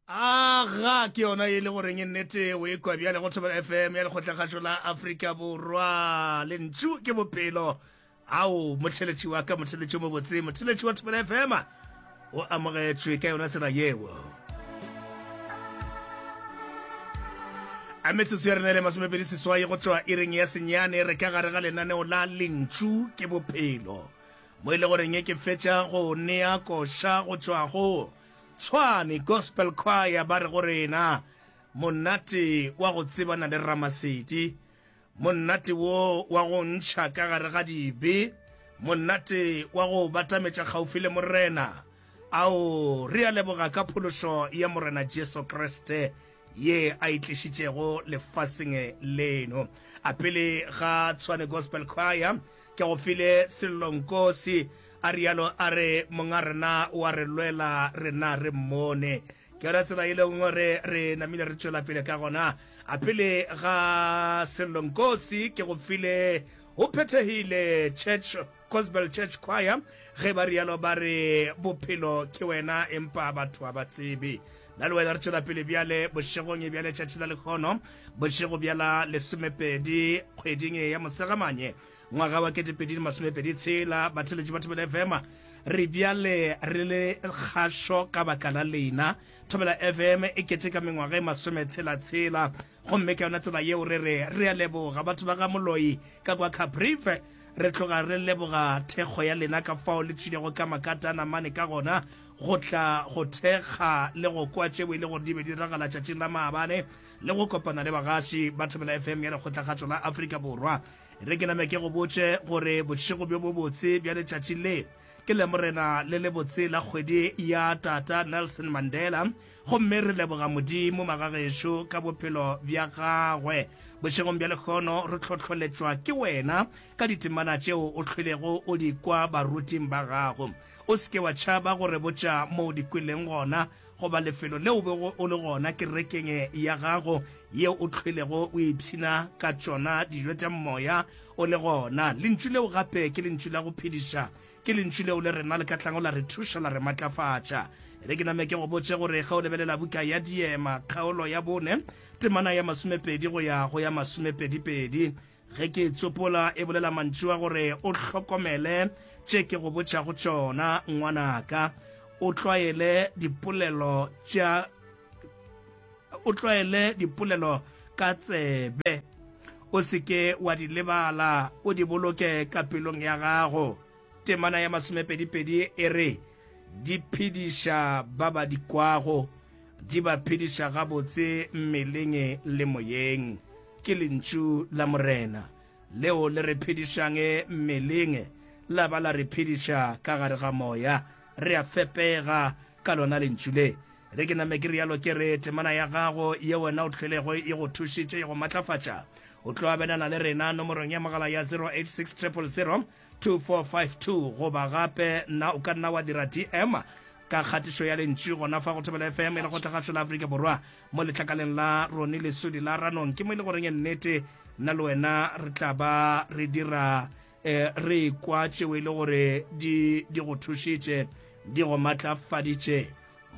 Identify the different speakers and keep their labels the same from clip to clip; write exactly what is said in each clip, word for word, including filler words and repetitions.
Speaker 1: Aga ke yona e le goreng e nnete o e kwa bjale go Thobela F M ya Lekgotlakgašo la Afrika Borwa. Lentšu ke bophelo. Ao, motheletši wa ka, motheletši o mobotse, motheletši wa Thobela F M o amogetšwe ka yona tsela yeo. A metsotso ya rena e le masomepedi seswai go tšwa iring ya senyane, re ka gare ga lenaneo la Lentšu ke Bophelo, mo e le goreng ke fetša go nea koša go tšwa go Tshwane Gospel Choir. Ba re go rena monate wa go tsebana le Ramasedi, monate wo wa go ntšha ka gare ga dibe, monate wa go batametša kgaufi le Morena. Ao, re a leboga ka phološo ya Morena Jesu Kriste ye a e tlišitšego lefaseng leno. A pele ga Tshwane Gospel Choir ke go file Sello Nkosi, a rialo a re monga rena wa re lwela, rena re mmone. Ke yona tsela e leng gore re namile re tšwela pele ka gona. A pele ga Sello Nkosi ke go file Go Phethegile Church Gospel Church Choir, ge ba rialo ba re bophelo ke wena empa batho ga ba tsebe. Nna le wena re tšwela pele bjale bošegong bja letšatši la lekgono, bošego bja la lesomepedi kgweding ya Mosegamanye ngwaga wa ketepedi le masomepedi tshela. Batheletši ba Thobela F M, re bjale re le kgašo ka baka la lena. Thobela F M e keteka mengwaga e masometshela-tshela, gomme ka yona tsela yeo re re re a leboga batho ba ga Moloi ka kwa Caprive. Re tloga re leboga thekgo ya lena ka fao le tšwilego ka makatana mane ka gona go tla go thekga le go kwa tšeo e le gore di be di diragala tšatšing la maabane le go kopana le bagaši ba Thobela F M ya Lekgotlakgatšo la Afrika Borwa. Re ke name ke go botše gore bošego bjo bobotse bja letšatši le ke Lamorena le lebotse la kgwedi ya Tata Nelson Mandela, gomme re leboga Modimo magagešo ka bophelo bja gagwe. Bošegong bja lehono re hlohloletšwa ke wena ka ditemana tšeo o hlwelego o di kwa baruting ba gago. O se ke wa tšhaba go re botša mo o di kweleng gona goba lefelo leo o bego o le gona kerekeng ya gago yeo o hlwelego o ipshina ka tšona dijo tša moya o le gona. Lentšu leo gape ke lentšu la go phediša. Ke lentšu leo le rena le ka tlango la re thuša la re matlafatša. Re ke name ke go botše gore ge o lebelela buka ya Diema kgaolo ya bone temana ya masomepedi go ya go ya masomepedipedi, ge ke e tsopola e bolela mantšu a gore o hlokomele tše ke go botšago tšona ngwanaka, o tlwaele dipolelo tša o tlwaele dipolelo ka tsebe, o se ke wa di lebala, o di boloke ka pelong ya gago. Temana ya masomepedipedi e re di phediša ba ba di kwago, di ba phediša gabotse mmeleng le moyeng. Ke lentšu la Morena leo le re phedišang mmeleng la ba la re phediša ka gare ga moya. Re a fepega ka lona lentšu le. Re ke name ke rialo ke re temana ya gago ye wena o hlwelego e go thušitše, e go matlafatša. O tlo abelana le rena nomorong ya mogala ya zero eight six triple zero two four five two, goba gape nna o ka nna wa dira D M ka kgatišo ya lentšu gona fa go Thobela F M e le Kgotlakgašo la Afrika Borwa mo letlakaleng la Roni Lesodi la Ranong. Ke mo e le goreng nnete nna le wena re tla ba re dira eh, re kwa tšeo e le gore di di go thušitše, di go matlafaditše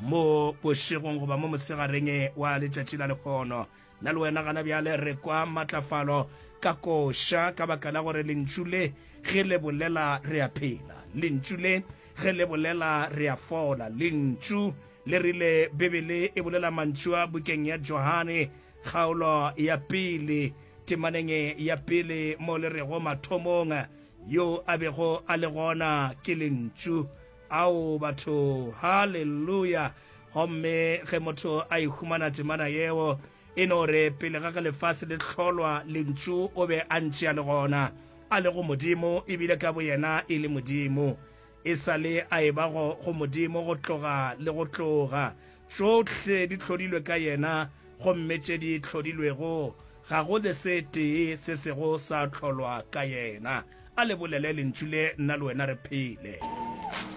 Speaker 1: mo bošegong goba mo mosegareng wa letšatši la lehono. Nna le wena gana bjale re kwa matlafalo ka koša ka baka la gore lentšu le ge le bolela re a phela, lentšu le ge le bolela re a fola. Lentšu le rile, Bibele e bolela mantšu a bukeng ya Johane kgaolo ya pele temaneng ya pele mo le rego mathomong yo a bego a le gona ke lentšu. Ao batho, haleluya! Gomme ge motho a e humana temana yeo, e no re pele ga ge lefase le hlolwa, lentšu o be a ntše a le gona, a le go Modimo, ebile ka boyena e le Modimo. E sa le a eba go, go Modimo go tloga le go tloga. Tšohle di hlodilwe ka yena, gomme tše di hlodilwego, ga go le se tee se sego sa hlolwa ka yena. A le bolele lentšu le, nna le wena re phele.